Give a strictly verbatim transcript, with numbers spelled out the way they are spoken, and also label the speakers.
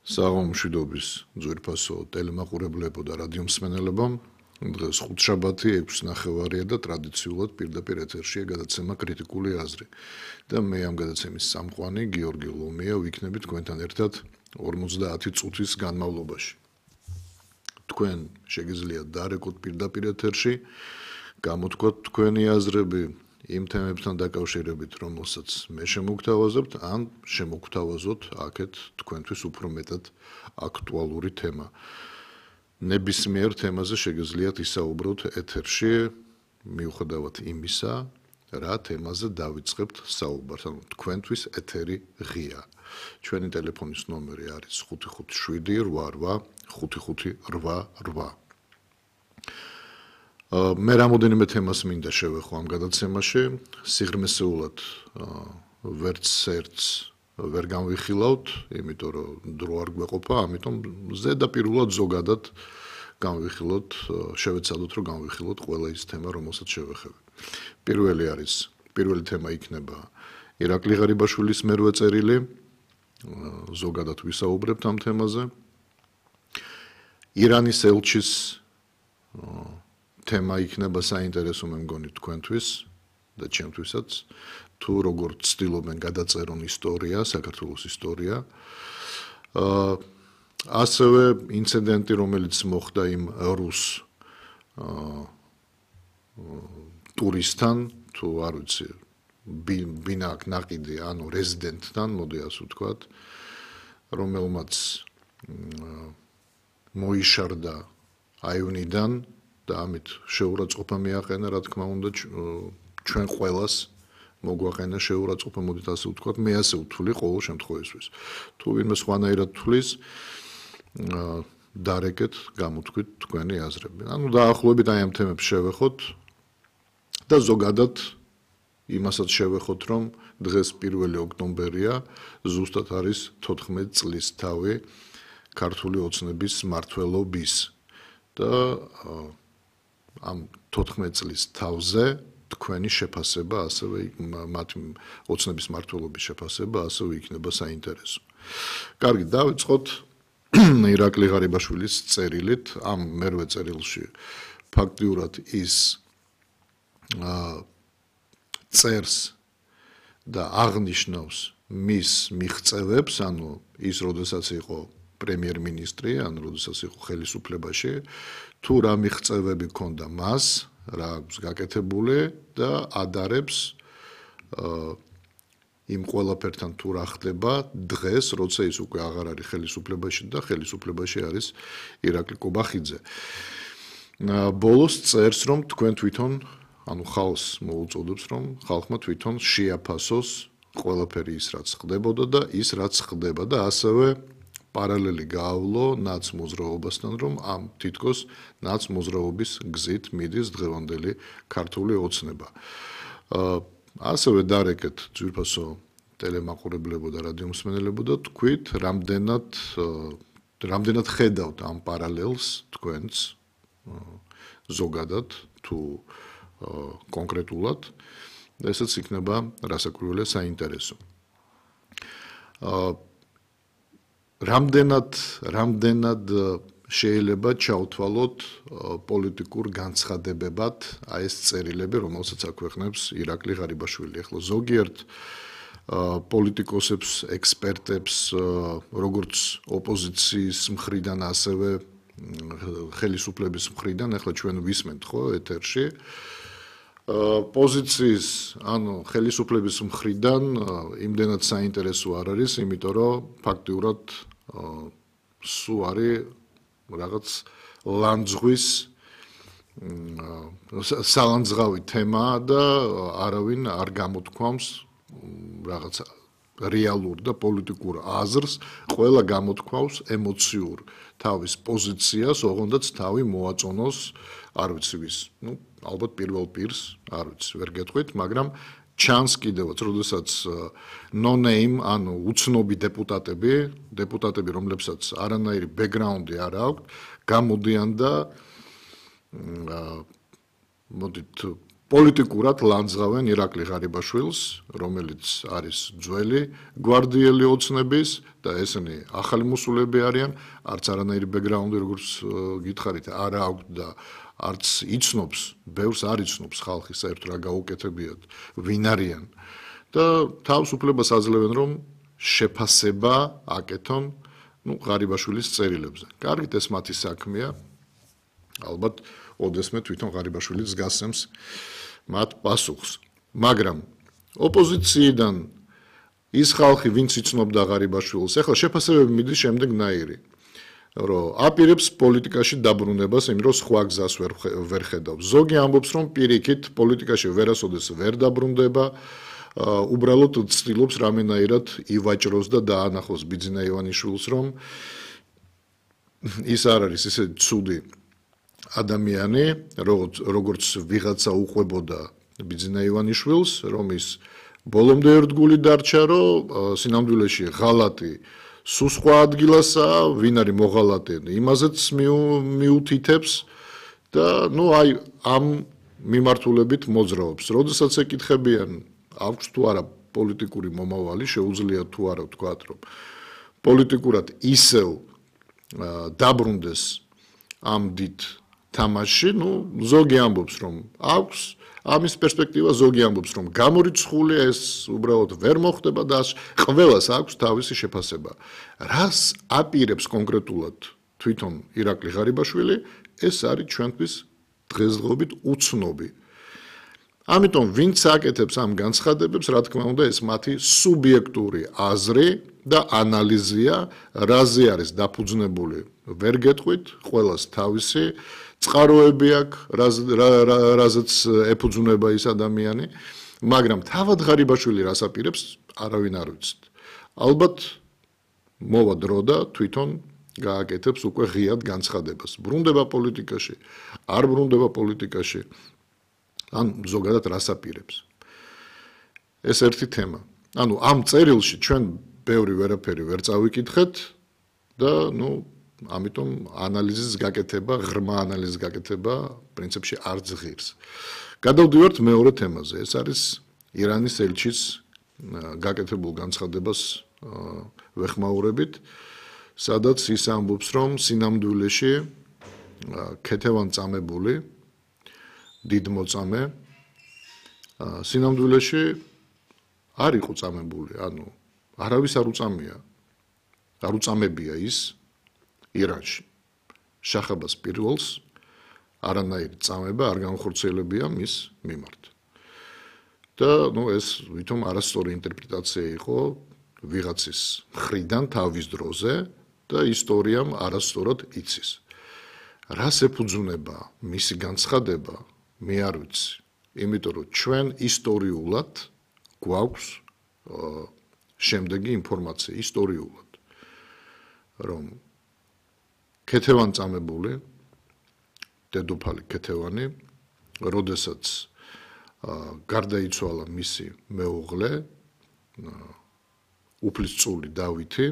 Speaker 1: საღამომშვიდობის ძვირფასო ტელემაყურებლებო და რადიომსმენელებო, დღეს ხუთშაბათი ექვსი ნახევარია და ტრადიციულად პირდაპირ ეთერშია გადაცემა კრიტიკული აზრი. და მე ამ გადაცემის სამყვანი გიორგი ლომია ვიქნები თქვენთან ერთად ორმოცდაათი წუთის განმავლობაში. თქვენ შეგიძლიათ დარეკოთ პირდაპირ ეთერში, გამოთქვათ თქვენი აზრები იმ თემებთან დაკავშირებით, რომელსაც მე შემოგთავაზებთ, ან შემოგთავაზოთ აქეთ თქვენთვის უფრო მეტად აქტუალური თემა. ნებისმიერ თემაზე შეგიძლიათ ისაუბროთ ეთერში, მიუხედავად იმისა, რა თემაზე დავიწყებთ საუბარს, ანუ თქვენთვის ეთერი ღია. ჩვენი ტელეფონის ნომერი არის ხუთი ხუთი შვიდი რვა რვა ხუთი ხუთი რვა რვა. მე რამოდენიმე თემას მინდა შევეხო ამ გადაცემაში, სიღრმესეულად ვერც ერთს ვერ განვიხილავთ, იმიტომ რომ დრო არ გვეყოფა, ამიტომ ზედაპირულად ზოგადად განვიხილოთ, შევეცადოთ რომ განვიხილოთ ყველა ის თემა, რომელსაც შევეხები. პირველი არის, პირველი თემა იქნება ირაკლი ღარიბაშვილის მერვე წერილი, ზოგადად ვისაუბრებთ ამ თემაზე. ირანის ელჩის თემა იქნება საინტერესო მე მგონი თქვენთვის და ჩემთვისაც, თუ როგორ ცდილობენ გადაწერონ ისტორია, საქართველოს ისტორია. ასევე ინციდენტი, რომელიც მოხდა იმ რუს ტურისტთან, თუ არ ვიცი, ბინაკ ნაყიდი, ანუ რეზიდენტთან, მოდი ასე ვთქვათ, რომელმაც მოიშარდა აივნიდან და ამით შეურაცხყოფა მიაყენა, რა თქმა უნდა, ჩვენ ყველას მოგვაყენა შეურაცხყოფა, მოდით ასე ვთქვათ, მე ასე ვთვლი ყოველ შემთხვევისთვის. თუ ვინმე სხვანაირად თვლის, დარეკეთ, გამოთქვით თქვენი აზრები. ანუ დაახლოებით აი ამ თემებს შევეხოთ და ზოგადად იმასაც შევეხოთ, რომ დღეს პირველი ოქტომბერია, ზუსტად არის თოთხმეტი წლის თავი ქართული ოცნების მმართველობის და ამ თოთხმეტი წლის თავზე თქვენი შეფასება, ასევე მათი ოცნების მმართველობის შეფასება, ასევე იქნება საინტერესო. კარგი, დავიწყოთ ირაკლი ღარიბაშვილის წერილით. ამ მერვე წერილში ფაქტიურად ის წერს და აღნიშნავს მის მიღწევებს, ანუ ის როდესაც იყო პრემიერ-მინისტრი, ანუ როდესაც იყო ხელისუფლებაში, თუ რა მიღწევები ჰქონდა მას, რა აქვს გაკეთებული და ადარებს იმ ყველაფერთან თუ რა ხდება დღეს, როცა ის უკვე აღარ არის ხელისუფლებაში და ხელისუფლებაში არის ირაკლი კობახიძე. ბოლოს წერს, რომ თქვენ თვითონ, ანუ ხალხს მოუწოდებს, რომ ხალხმა თვითონ შეაფასოს ყველაფერი ის, რაც ხდებოდა და ის, რაც ხდება და ასევე პარალელი გაავლო ნაცმოძრაობასთან, რომ ამ თითქოს ნაცმოძრაობის გზით მიდის დღევანდელი ქართული ოცნება. ასევე დარეკეთ ძვირფასო ტელემაყურებლებო და რადიომსმენელებო და თქვით, რამდენად რამდენად ხედავთ ამ პარალელს თქვენც ზოგადად თუ კონკრეტულად, ესეც იქნება რასაკვირველია საინტერესო. რამდენად რამდენად შეიძლება ჩავთვალოთ პოლიტიკურ განცხადებებად აი ეს წერილები, რომელსაც აქვეყნებს ირაკლი ღარიბაშვილი. ახლა ზოგიერთ პოლიტიკოსებს, ექსპერტებს, როგორც ოპოზიციის მხრიდან, ასევე ხელისუფლების მხრიდან, ახლა ჩვენ ვისმენთ ხო ეთერში, პოზიციის, ანუ ხელისუფლების მხრიდან იმდენად საინტერესო არ არის, იმიტომ რომ ფაქტიურად სულ არის რაღაც ლანძღვის სალანძღავი თემა და არავინ არ გამოთქვამს რაღაც რეალურ და პოლიტიკურ აზრს, ყველა გამოთქვავს ემოციურ თავის პოზიციას, ოღონდაც თავი მოაწონოს, არ ვიცი ვის, ну, ალბათ პირველ პირს, არ ვიცი, ვერ გეტყვით, მაგრამ ჩანს კიდევაც, როდესაც no name, ანუ უცნობი დეპუტატები, დეპუტატები, რომლებსაც არანაირი ბექგრაუნდი არ აქვს, გამოდიან და მოდით პოლიტიკურად ლანძღავენ ირაკლი ღარიბაშვილს, რომელიც არის ძველი გვარდიელი ოცნების და ესენი ახალი მოსულები არიან, არც არანაირი ბექგრაუნდი, როგორც გითხარით, არ აქვს და არც იცნობს, ბევრს არ იცნობს ხალხი საერთოდ რა გაუკეთებიათ, ვინ არიან და თავს უფლებას აძლევენ, რომ შეფასება აკეთონ, ну, ღარიბაშვილის წერილებზე. კარგით, ეს მათი საქმეა. ალბათ, ოდესმე თვითონ ღარიბაშვილიც გასცემს მათ პასუხს. მაგრამ ოპოზიციიდან ის ხალხი, ვინც იცნობდა ღარიბაშვილს, ახლა შეფასებები მიდის შემდეგნაირი, რომ აპირებს პოლიტიკაში დაბრუნებას, იმიტომ რომ სხვა გზას ვერ ვერ ხედავს. ზოგი ამბობს, რომ პირიქით პოლიტიკაში ვერასოდეს ვერ დაბრუნდება, უბრალოდ ცდილობს რამენაირად ივაჭროს და დაანახოს ბიძინა ივანიშვილს, რომ ის არ არის ისე ცუდი ადამიანი, როგორც ვიღაცა უყვებოდა ბიძინა ივანიშვილს, რომ ის ბოლომდე ერთგული დარჩა, რომ სინამდვილეში ღალატი სულ სხვა ადგილასაა, ვინ არის მოღალატე, იმაზეც მიუთითებს და ნუ აი ამ მიმართულებით მოძრაობს. როდესაც ეკითხებიან, აქვს თუ არა პოლიტიკური მომავალი, შეუძლია თუ არა ვთქვათ, რომ პოლიტიკურად ისევ დაბრუნდეს ამ დიდ თამაში, ну, ზოგი ამბობს, რომ აქვს ამის პერსპექტივა, ზოგი ამბობს, რომ გამორიცხულია, ეს უბრალოდ ვერ მოხდება და ყველას აქვს თავისი შეფასება. რას აპირებს კონკრეტულად თვითონ ირაკლი ღარიბაშვილი, ეს არის ჩვენთვის დღესდღეობით უცნობი. ამიტომ ვინც აკეთებს ამ განცხადებებს, რა თქმა უნდა, ეს მათი სუბიექტური აზრი და ანალიზია, რაზე არის დაფუძნებული, ვერ გეტყვით, ყველას თავისი წყაროები აქვს, რაზეც ეფუძნება ის ადამიანი, მაგრამ თავად ღარიბაშვილი რას აპირებს, არავინ არ ვიცით. ალბათ მოვა დრო და თვითონ გააკეთებს უკვე ღიად განცხადებას. ბრუნდება პოლიტიკაში, არ ბრუნდება პოლიტიკაში, ან ზოგადად რას აპირებს. ეს ერთი თემა. ანუ ამ წერილში ჩვენ ბევრი ვერაფერი ვერ წავიკითხეთ და ნუ ამიტომ ანალიზის გაკეთება, ღრმა ანალიზის გაკეთება პრინციპში არ ძღირს. გადავდივართ მეორე თემაზე. ეს არის ირანის ელჩის გაკეთებულ განცხადებას ვეხმაურებით, სადაც ის ამბობს, რომ სინამდვილეში ქეთევან წამებული დიდმოწამე სინამდვილეში არ იყო წამებული, ანუ არავის არ უწამია, არ უწამებია ის ირანში. შახაბას პირველს არანაირი წამება არ განხორციელებია მის მიმართ. და ნუ ეს ვითომ არასწორი ინტერპრეტაცია იყო ვიღაცის მხრიდან თავის დროზე და ისტორიამ არასწორად იცის. რას ეფუძნება მისი განცხადება, მე არ ვიცი. იმიტომ რომ ჩვენ ისტორიულად გვაქვს შემდეგი ინფორმაცია ისტორიულად, რომ ქეთევან წამებული, დედოფალი ქეთევანი, როდესაც გარდაიცვალა მისი მეუღლე, უფლისწული დავითი,